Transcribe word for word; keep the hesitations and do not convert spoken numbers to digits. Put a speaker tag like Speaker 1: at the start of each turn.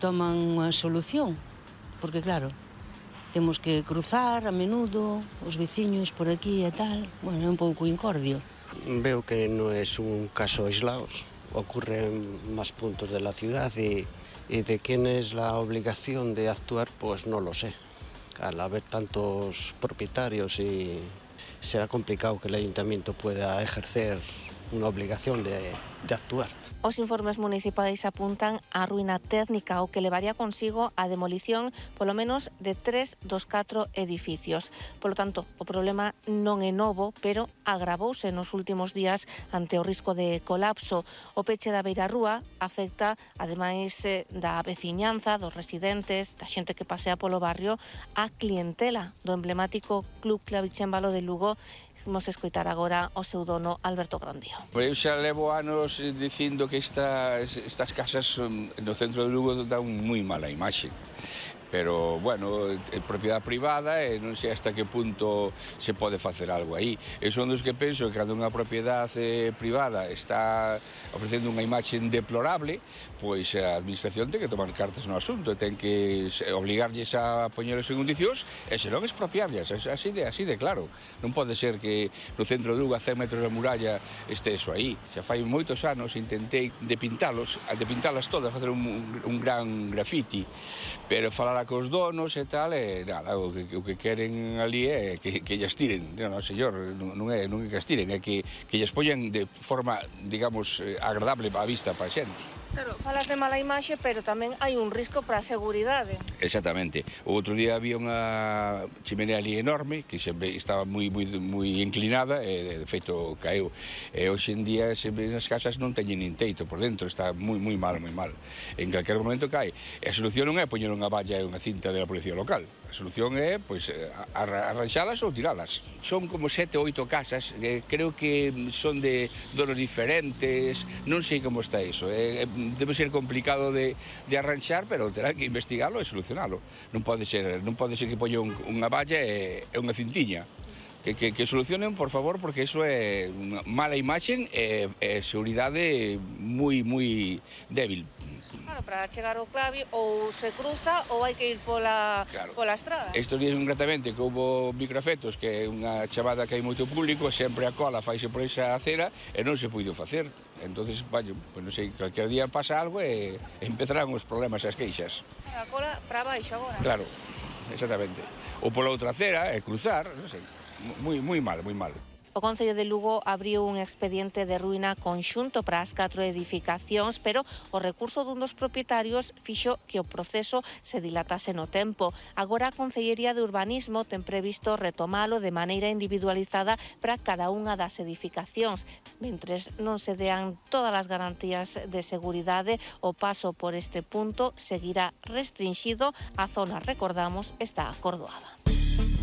Speaker 1: Toman unha solución, porque claro, temos que cruzar a menudo, os veciños por aquí e tal, bueno, é un pouco incordio.
Speaker 2: Veo que no es un caso aislado, ocurre en más puntos de la ciudad y, y de quién es la obligación de actuar, pues no lo sé. Al haber tantos propietarios y será complicado que el ayuntamiento pueda ejercer una obligación de, de actuar.
Speaker 3: Os informes municipais apuntan á ruína técnica o que levaría consigo a demolición polo menos de tres dos catro edificios. Polo tanto, o problema non é novo, pero agravouse nos últimos días ante o risco de colapso. O peche da beirarrúa afecta, ademais da veciñanza, dos residentes, da xente que pasea polo barrio, a clientela do emblemático Club Clavicémbalo de Lugo. Vamos a escoitar agora o seu dono, Alberto Grandío.
Speaker 4: Eu xa levo anos dicindo que estas, estas casas no centro de Lugo dan moi mala imaxe. Pero, bueno, é propiedade privada e non sei hasta que punto se pode facer algo aí. E son dos que penso que cando unha propiedade privada está ofrecendo unha imaxe deplorable, pois a administración ten que tomar cartas no asunto, ten que obligarlles a poñelos en condicións e senón expropiarlles, así de, así de claro. Non pode ser que no centro de Lugo a cen metros da muralla este eso aí. Xa fai moitos anos intentei depintalos, depintalas todas, facer un, un gran grafiti, pero falar cos donos e tal, e nada, o que, o que queren ali é que, que lles tiren. Non, señor, non é, non é que as tiren, é que, que lles poñan de forma, digamos, agradable á vista para a xente.
Speaker 3: Claro, falas de mala imaxe, pero tamén hai un risco para a seguridade.
Speaker 4: Exactamente. O outro día había unha chimenea ali enorme, que sempre estaba moi, moi, moi inclinada, e de feito caeu. E hoxe en día as casas non teñen nin teito por dentro, está moi, moi mal, moi mal. En calquer momento cae. E a solución non é poñer unha valla e unha cinta da Policía Local. A solución é, pois, arranxalas ou tiralas. Son como sete ou oito casas, eh, creo que son de donos diferentes, non sei como está iso. Eh, debe ser complicado de, de arranxar, pero terá que investigalo e solucionalo. Non pode ser, non pode ser que poña un, unha valla e, e unha cintiña. Que, que, que solucionen, por favor, porque iso é unha mala imaxe e, e seguridade moi, moi débil.
Speaker 3: Claro, para chegar ao clavi ou se cruza ou hai que ir pola,
Speaker 4: claro.
Speaker 3: pola estrada.
Speaker 4: Estes días concretamente que houve microafectos, que é unha chamada que hai moito público, sempre a cola faise por esa acera e non se puido facer. Entonces, vaya, pues non sei, calquer día pasa algo e empezarán os problemas e as queixas.
Speaker 3: A cola para baixo agora.
Speaker 4: Claro, exactamente. Ou pola outra acera e cruzar, non sei, moi, moi mal, moi mal.
Speaker 3: O Concello de Lugo abriu un expediente de ruína conxunto para as catro edificacións, pero o recurso dun dos propietarios fixo que o proceso se dilatase no tempo. Agora a Concellería de Urbanismo ten previsto retomalo de maneira individualizada para cada unha das edificacións. Mentres non se dean todas as garantías de seguridade, o paso por este punto seguirá restringido. A zona, recordamos, está acordoada.